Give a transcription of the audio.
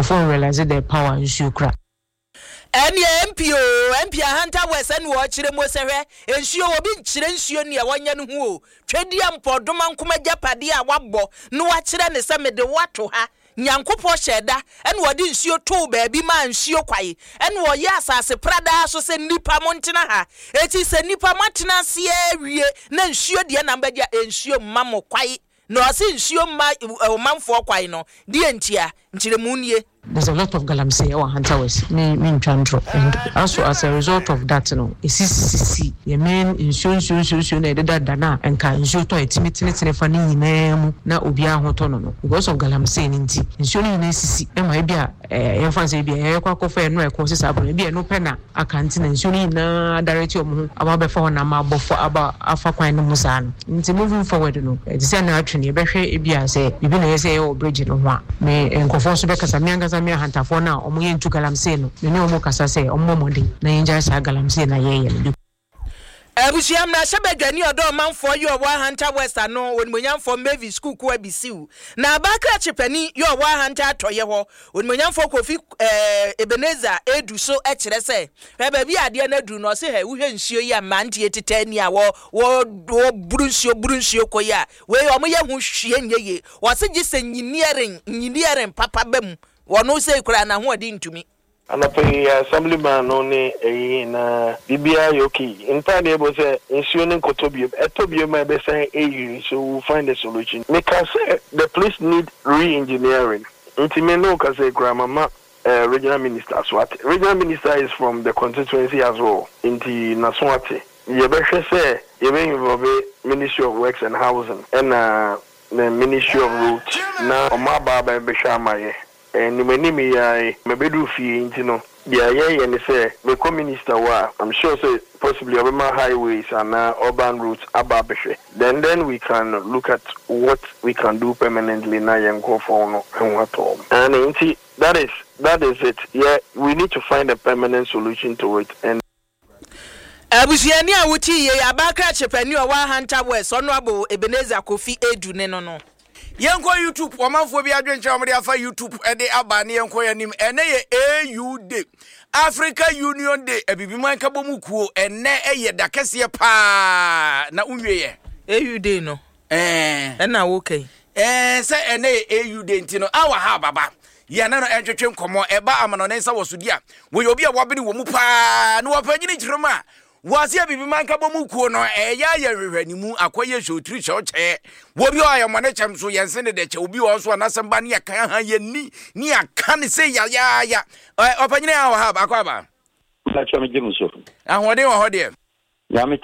Nkurɔfoɔ nrealise the power nsuo kura. Ɛneɛ MP oo, MP Ahanta West ɛne ɔɔkyerɛ mu sɛ hwɛ nsuo obi nkyerɛ nsuo neɛ wɔnyɛ no ho o, Twedeɛ mpɔdoma nkom agyapadeɛ a wabɔ na wakyerɛ no sɛ mede wo ato ha, Nyankopɔn hyɛɛ da ɛna ɔde nsuo too baabi maa nsuo kwae ɛna ɔyɛɛ asase pradaa so sɛ nnipa montena ha, eti sɛ nnipa moatena aseɛ awie na nsuo deɛ na mobɛgye a nsuo mma mo kwae Na ɔse nsuo mma ɔmanfoɔ kwan no, deɛ ntia? Nkyerɛmu nie. There's a lot of galamsey ɛwɔ Ahanta West, me me ntwa ntorɔ and also as a result of that no esi sisi yɛ main nsuo nsuo nsuo nsuo na ɛdeda da no a nka nsuo tɔ a ɛtumi tenetene fa ne nyinaa mu na obiara ho tɔ no no because of galamsey no nti nsuo no nyinaa sisi ɛma ebi a ɛɛ yɛmfa no sɛ ebi a yɛkɔ akɔfa ɛno a ɛkɔ sesa abɔ no ebi a ɛno pɛ na aka nti na nsuo no nyinaa adarete wɔn ho aba abɛfa hɔ na ama abɔ fɔ aba afa kwan no mu saa no. Nti moving forward no, ɛte sɛ na atwe no, yɛbɛhwɛ ebia sɛ biribi na ɛyɛ sɛ yɛyɛ wɔ bridge no ho a, me nkurɔfoɔ nso bɛkasa, me ankasa me ahantafoɔ no a wɔyɛ ntu galamsey no, me ne wɔn kasa sɛ wɔmmɔ mmɔden na yɛngyae saa galamsey no a yɛreyɛ no. Abusua mmarahyɛbadwani ɔdɔ ɔmanfoɔ yɛ ɔwɔ Ahanta West ano Onimuonyamfoɔ Mavis Kuku Abisiw na Abaa Krakye panin yɛ ɔwɔ Ahanta Atɔeɛ hɔ Onimuonyamfoɔ Kofi Ebenezer Adu so kyerɛ sɛ hwɛ baabi a adeɛ no aduru no ɔse hɛ wohwɛ nsuo yi a mmeranteɛ tetɛ ani a wɔ wɔ wɔburu nsuo buru nsuo kɔ yi a wei wɔn yɛ ho hwie nyɛ yie ɔse gye sɛ nyiniɛren nyiniɛren papa ba mu wɔno sei koraa n'ahoɔden ntumi. Anɔpa yi assembly man no ne ɛyi na biribiara yɛ okay. Mpae deɛ ɛbɔ sɛ nsuo no nkɔtɔ biom. Ɛtɔ biom a ɛbɛsan ayiri so we will find a solution. Meka sɛ the place need re-engineering nti me ne wo kasa yi koraa mama regional minister aso ate. Regional minister is from the constituency as well nti n'aso ate. Yɛbɛhwɛ sɛ yɛbɛ involve ministry of works and housing ɛna the ministry of roads na wɔn aba abɛhwɛ ama yɛ. Anim anim yi ara yi, mabɛduru fie nti no, deɛ yɛyɛ ne sɛ, mekɔ minister hɔ a, I'm sure sɛ possibly ɔbɛma highways anaa urban roads aba abɛhwɛ. Then then we can look at what we can do permanently na yɛn nkorɔfoɔ no ho atɔ wɔn. Aane, nti that is that is it, yɛ we need to find a permanent solution to it and. Abusuani a wote yie yi, Abaa Krakye panin a ɔwɔ Ahanta West, Honourable Ebenezer Kofi Adu ne no no. Yɛnkɔ YouTube, ɔmanfoɔ bi adwenkyerɛ a wɔde afa YouTube de aba ne yɛnkɔ yɛn anim. Ɛnɛ yɛ AU Day, Africa Union Day, Abibiman Nkabom Kuo. Ɛnɛ ɛyɛ da kɛseɛ paa na wonwieɛ. AU Day no ɛna woka yi. Ɛɛ sɛ ɛnɛ yɛ AU Day nti no, awa ha baba. Yɛne no ntwetwe nkɔmmɔ. Ɛba amanɔne nsa wɔ so di a, wɔyɛ obi a wabene wɔ mu paa na wɔpanyini kyerɛ mu a, wɔase Abibiman Nkabom Kuo no, ɛyɛ ayɛ nhwehwɛnimu, akɔyɛ hwɛ otiri hwɛ ɔkyɛ. Wɔ bi wɔ a yɛmmɔ ne kyɛm so, yɛnse ne dɛkyɛ. Obi wɔ hɔ nso a n'asɛm ba ne yɛka ha yɛnni ne yɛaka ne sɛ yayaaya. Ɔpanyini a wɔ ha, akɔ aba. Mpakyɛ megye mo so. Ahoɔden wɔ hɔ deɛ. Nyame.